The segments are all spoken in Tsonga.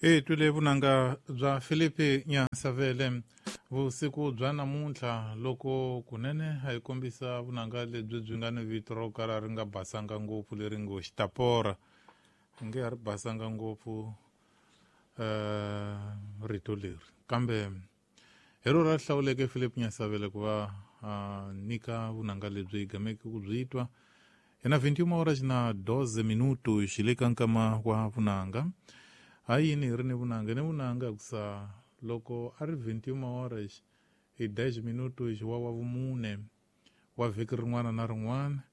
Hi twile vunanga bya Filipi Nyansavele vusiku bya namuntlha loko kunene a hi kombisa vunanga lebyi byi nga ni vito ro kala ri nga basanga ngopfu leri ngo xitapora. Nge a ri basanga ngopfu rito leri, kambe hi ro ra hlawuleke Philip Nyasavele ku va a nyika vunanga lebyi hi gameke ku byi twa. Hi na 21 horas na 12 minutos xi le ka nkama wa vunanga. Ha yini hi ri ni vunanga? Ni vunanga hikusa loko a ri 21 horas hi 10 minutos wa vumune wa vhiki rin'wana na rin'wana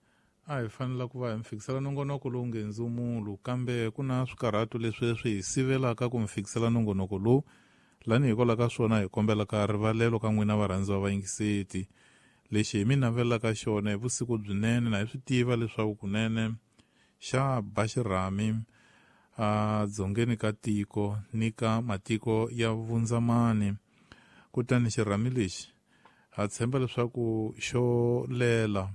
a hi fanela ku va hi mi fikisela nongonoko lowu nge ndzumulo, kambe ku na swikarhato leswi swi hi sivelaka ku mi fikisela nongonoko lowu. Lani hikwalaho ka swona hi kombelaka rivalelo ka n'wina varhandziwa vayingiseti. Lexi hi mi navelaka xona hi vusiku byinene na hi swi tiva leswaku kunene xa ba xirhami a dzongeni ka tiko ni ka matiko ya vundzamani. Kutani xirhami lexi ha tshemba leswaku xo lela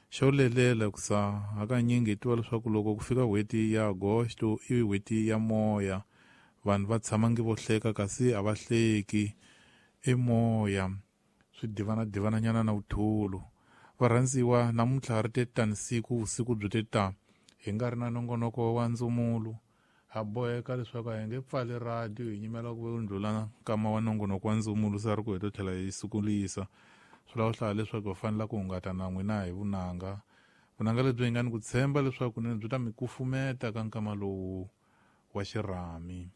xo lelela kusa hakanyingi hi tiva leswaku loko ku fika n'hweti ya Agosto i n'hweti ya moya, vanhu va tshama nge vo hleka kasi a va hleki, i moya swi divana-divananyana na vuthulu. Varhandziwa, namuntlha ri te tani siku vusiku byi te ta hi nga ri na nongonoko wa ndzumulo. Ha boheka leswaku a hi nge pfali radio hi nyimela ku ndlula nkama wa nongonoko wa ndzumulo sa ri ku hi to tlhela hi sukulisa. Swi lava hlaya leswaku hi fanela ku hungata na n'wina hi vunanga. Vunanga lebyi hi nga ni ku tshemba leswaku kunene byi ta mi kufumeta ka nkama lowu wa xirhami.